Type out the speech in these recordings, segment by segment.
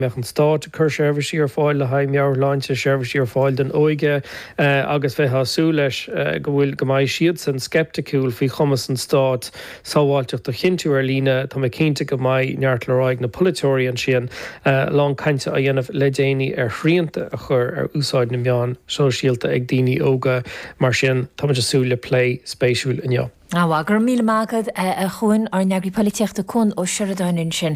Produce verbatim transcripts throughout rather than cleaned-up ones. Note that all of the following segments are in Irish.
mbeadh an stát ag cur seirbhísí ar fáil le haghaidh meabhairshláinte, seirbhísí ar fáil don óige agus bheifeá ag súil leis go bhfuil go mbeidh siadsan sceipticiúil faoi chumas an stáit sábháilteacht a chinntiú ar líne. Tá mé cinnte go mbeidh neart le rá ag na polaiteoirí ansin, a lán cainte á dhéanamh le déanaí ar shrianta a chur ar úsáid na meán sóisialta ag daoine óga. Mar sin, táimid ag súil le plé spéisiúil inniu. Á, go raibh míle maith agat, a Chuain, ár n-eagraí polaitíochta Cuan Ó Seireadáin ansin.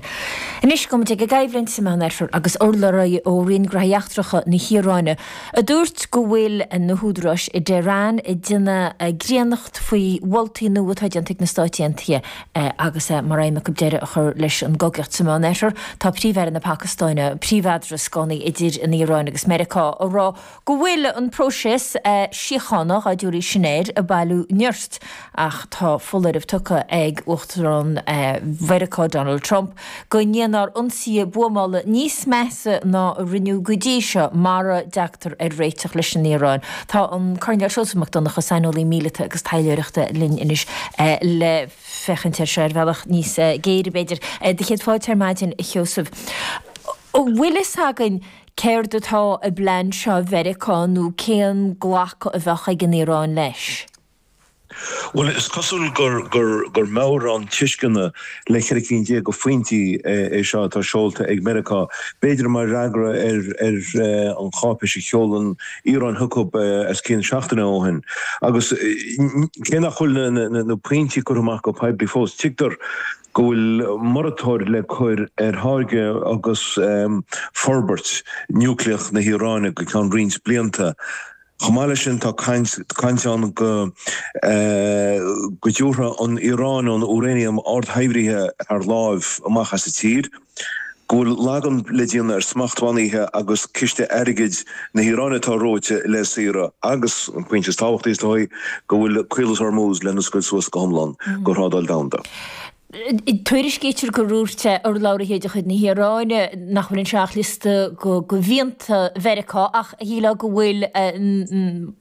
Anois gabhfaidh muid ag an gcoimhlint sa Meánoirthear agus urlabhraí ó Roinn Gnóthaí Eachtracha na hIaráine a dúirt go bhfuil na húdaráis i dTehran ag déanamh gréannacht faoi mholtaí nua atá déanta ag na Stáit Aontaithe agus é mar aidhm acu deireadh a chur leis an gcogaíocht sa Meánoirthear. Tá Príomh-Aire na Pacastáine, príomheadrascánaí idir an Iaráin agus Meiriceá, ag rá go bhfuil an próiseas síochána, dá dtabharfaí sin air, ag bailiú nirt ach tá foláireamh tugtha ag Uachtarán Mheiriceá Donald Trump go ndéanfar ionsaithe buamála níos measa ná a rinneadh go dtí seo mara dtagtar ar réiteach leis an Iaráin. Tá an Coirnéal Seosamh Mac Donncha, saineolaí míleata agus taidhleoireachta linn anois le féachaint air seo ar bhealach níos géire b'fhéidir. Do chéad fáilte ar maidin, a Sheosaimh. An bhfuil fhios againn céard atá i bplean seo Mheiriceá nó cén glacadh a bheadh ag an Iaráin leis? Bhuel, is cosúil gur gur gur meabhrán tuisceana le ceithre cinn déag de phointí é seo atá seolta ag Meiriceá, b'fhéidir mar fhreagra ar ar an cháipéis a sheol an Iaráin chucu os cionn seachtaine ó shin. Agus cé nach bhfuil na na pointí curtha amach go poiblí fós, tuigtear go bhfuil moratóir le cur ar tháirgeadh agus forbairt núicléach na hIaráine go ceann roinnt blianta. Chomh maith leis sin, tá caint ann go go dtabharfadh an Iaráin an úráiniam ardshaibhrithe thar láimh amach as an tír, go bhfuil laghdú le déanamh ar smachtbhannaithe agus ciste airgid na hIaráine atá reoite le saoradh agus, an pointe is tábhachtaí is dóigh, go bhfuil Caolas Hormuz le n-oscailt suas go hiomlán do thrádáil domhanda. Tuairiscítear gur dhúirt urlabhraithe de chuid na hIaráine nach bhfuil anseo ach liosta de mhianta Mheiriceá ach shílfeá go bhfuil